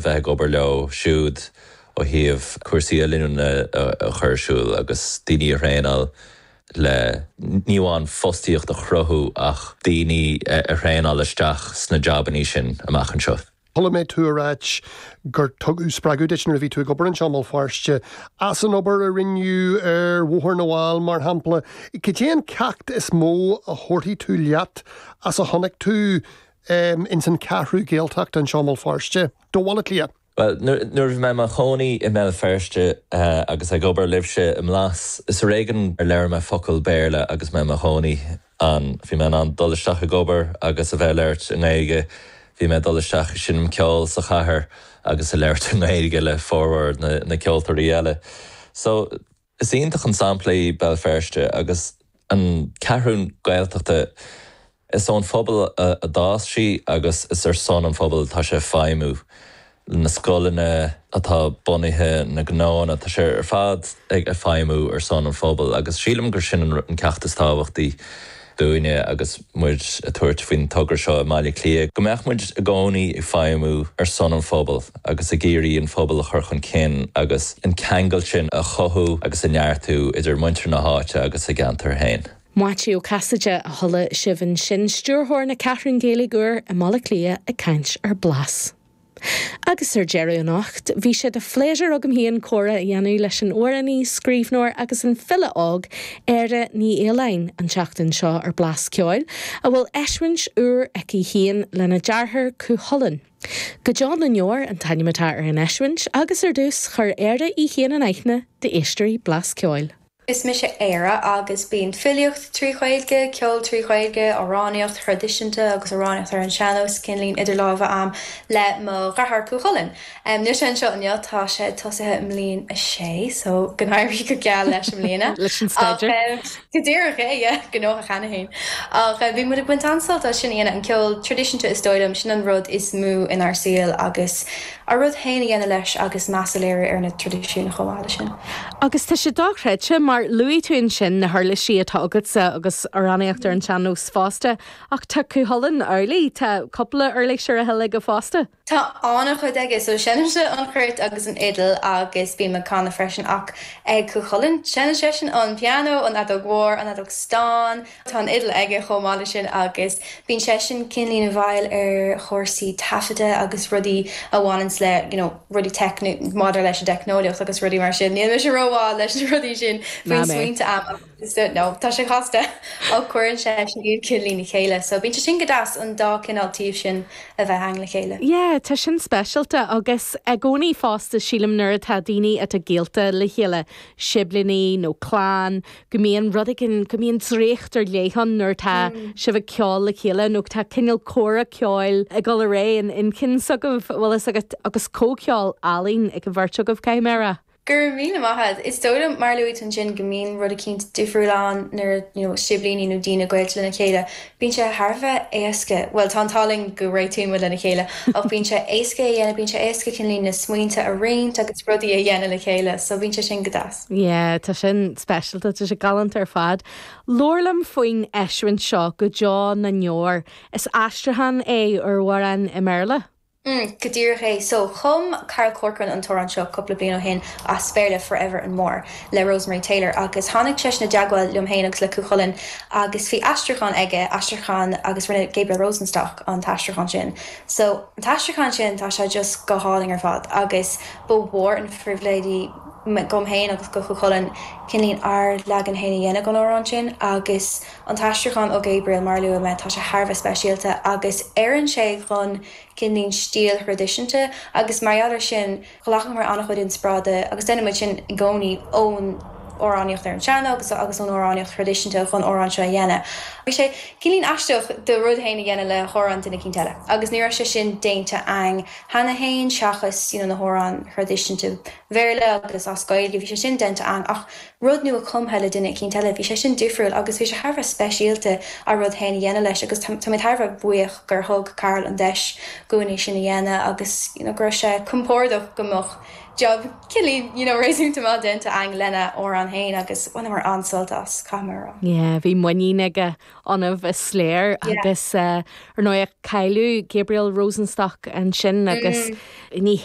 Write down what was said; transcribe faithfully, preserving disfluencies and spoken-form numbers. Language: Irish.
bheith ag obair leo siúd ó thaobh cúrsaí oiliúna a chur ar siúl agus daoine a thraenáil le ní amháin fostaíocht a chruthú ach daoine a thraenáil isteach sna jabanna sin amach anseo. Chuala mé tú ag ráit gur tugadh spreagadh duit nuair a bhí tú ag obair anseo i mBéal Feirste as an obair a rinneadh ar Bhóthar na bhFál mar shampla. Cad é an ceacht is mó a thabharfaidh tú leat as a chonaic tú um, ins an Cheathrú Gaeltacht anseo i mBéal Feirste. Do Bhaile Átha Cliath. Well, nuair bhí mé i mo chónaí i mBéal Feirste uh, agus ag obair libhse i mBlas is ar éigean ar labhair mé focal Béarla agus mé i mo chónaí an bhí mé an dul isteach ag obair agus a bheith labhairt i nGaeilge bhí mé dul isteach seinm ceol sa chathair agus a labhairt i nGaeilge le formhór na, na ceoltóirí eile. So is iontach an sampla í Béal Feirste agus an Cheathrú Gaeltachta is ón phobal a, a d'fhás sí agus is ar son an phobal tá sé feidhmiú. na scoileanna atá bunaithe na gnónna tá sé ar fad ag a feidhmiú ar son an phobal agus sílim gur sin an ceacht is tábhachtaí dúinne agus muid ag tabhairt faoin togra seo i mBaile Átha Cliath. Go mbeadh muid i gcónaí ag feidhmiú ar son an phobal agus ag iarraidh an phobal a chur chun cinn agus an ceangal sin a chothú agus a neartú idir muintir na háite agus a gceantar féin. Maitiú Ó Casaide a chuala sibh ansin stiúrthóir na Ceathrún Gaeilge úr i mBaile Átha Cliath ag caint ar Blas. Agus ar deireadh anocht, bhí sé de phléisiúr agam féin comhrá a dhéanamh leis an amhránaí, scríbhneoir agus an file óg Éire Ní Fhaoláin an tseachtain seo ar Blas Ceoil, a bhfuil eisiúint úr aici féin lena deartháir Cúchulainn. Go deo na ndeor an t-ainm atá ar an eisiúint agus ar dtús chuir Éire í féin in aithne d'éisteoirí Blas Ceoil. Is mise Éire agus bíonn filíocht trí Ghaeilge, ceol trí Ghaeilge, amhránaíocht thraidisiúnta agus amhránaíocht ar an sean-nós cineál idir lámha agam le mo dheartháir Cúchulainn. Um, Níl sé anseo inniu tá sé tosaithe i mbliain a sé, so go n-éirí go geal leis i mbliana. Leis an staidéar. Go díreach é gnóthach cheana féin. Ach bhí muid ag baint an-sult as sin an ceol traidisiúnta is dóigh liom sin an rud is mó inár saol agus a rud féin a dhéanamh leis agus meas a léiriú ar na traidisiúin chomh maith sin. Agus tá sé dochreidte mar luaigh tú ansin na huirlisí atá agatsa agus amhránaíocht ar an sean-nós fosta ach tá Cúchulainn amhlaidh tá cúpla uirlis ar a thoil aige fosta. Tá an-chuid aige so seinnimse an chruit agus an fhidil agus bím ag canadh freisin ach ag Cúchulainn seinneann seisean an pianó an fheadóg mhór an fheadóg stáin Tá an fhidil aige chomh maith sin agus bíonn seisean cineál i bhfeighil ar chúrsaí taifeadta agus rudaí a bhaineann le you know, rudaí teicniúla maidir leis an teicneolaíocht agus rudaí mar sin. Níl mise rómhaith leis na rudaí sin faoin smaointe am no tá sé casta á chuireann sé sin iad cineál le chéile, so bíonn sé sin go deas an dá cineál taobh sin a bheith ann le chéile. Yeah, tá sin speisialta agus i gcónaí fosta sílim nuair atá daoine atá gaolta le chéile siblíní nó clann, go mbíonn rud éigin go mbíonn draíocht ar leith ann nuair tá mm. sibh ag ceol le chéile nó tá cineál comhrá ceoil ag dul ar aghaidh in inchinn agaibh bhfuil agat agus comhcheol álainn ag an bheirt agaibh céimére. Gur mí maith is dóigh mar luaigh ansin go mbíonn rud éicint difriúil ann nuair you know, siblíní nó daoine gaolta lena chéile. Bíonn sé thar a bheith éasca, Well tá tallann go réitíonn lena chéile ach bíonn sé éasca a dhéanamh bíonn sé éasca cineál na smaointe a roinnt agus rudaí a dhéanamh le chéile, so bíonn sé sin go deas. Yeah, tá sin speisialta tá sé galánta ar fad. Labhair liom faoin eisiúint seo go deo na ndeor is aistriúchán é ar amhrán i mBéarla. Mm, go díreach é so chum Carl Corcoran an t-amhrán seo cúpla bliain ó shin as Béarla Forever and More le Rosemary Taylor agus tháinig sé i dteagmháil liom féin agus le Cúchulainn agus bhí aistriúchán aige aistriúchán agus rinne Gabriel Rosenstock an t-aistriúchán sin. So an t-aistriúchán sin tá sé just go hálainn ar fad agus ba mhór an phribhléid dom féin agus do Chúchulainn cineál ár leagan féin a dhéanamh den amhrán sin agus an t-aistriúchán ó Gabriel mar luaigh mé tá sé thar a bheith speisialta agus oireann sé chun cineál stíl thraidisiúnta agus mar gheall air sin ghlacamar an-chuid inspioráide agus déanaimid sin i gcónaí ón amhránaíocht ar an sean agus agus ón amhránaíocht thraidisiúnta chun amhrán seo a dhéanamh. Bhí sé cineál aisteach do rud féin a dhéanamh le hamhrán duine éicint eile. agus ní raibh sé sin déanta againn cheana féin seachas you know, na hamhráin thraidisiúnta Bhéarla agus as Gaeilge bhí sé sin déanta againn ach rud nua cumtha le duine éicint eile bhí sé sin difriúil agus bhí sé thar a bheith speisialta a rud féin a dhéanamh leis agus tá mé thar a bheith buíoch gur thug Carl an deis dúinn é sin a dhéanamh agus you know, go raibh sé compordach go mbeadh job cineál you know, réasúnta maith déanta againn lena amhrán féin agus bhaineamar an-sult as caithfidh mé. Yeah, bhí muinín aige ionaibh is léir agus uh, ar ndóigh cailleadh Gabriel Rosenstock ansin agus mm. ní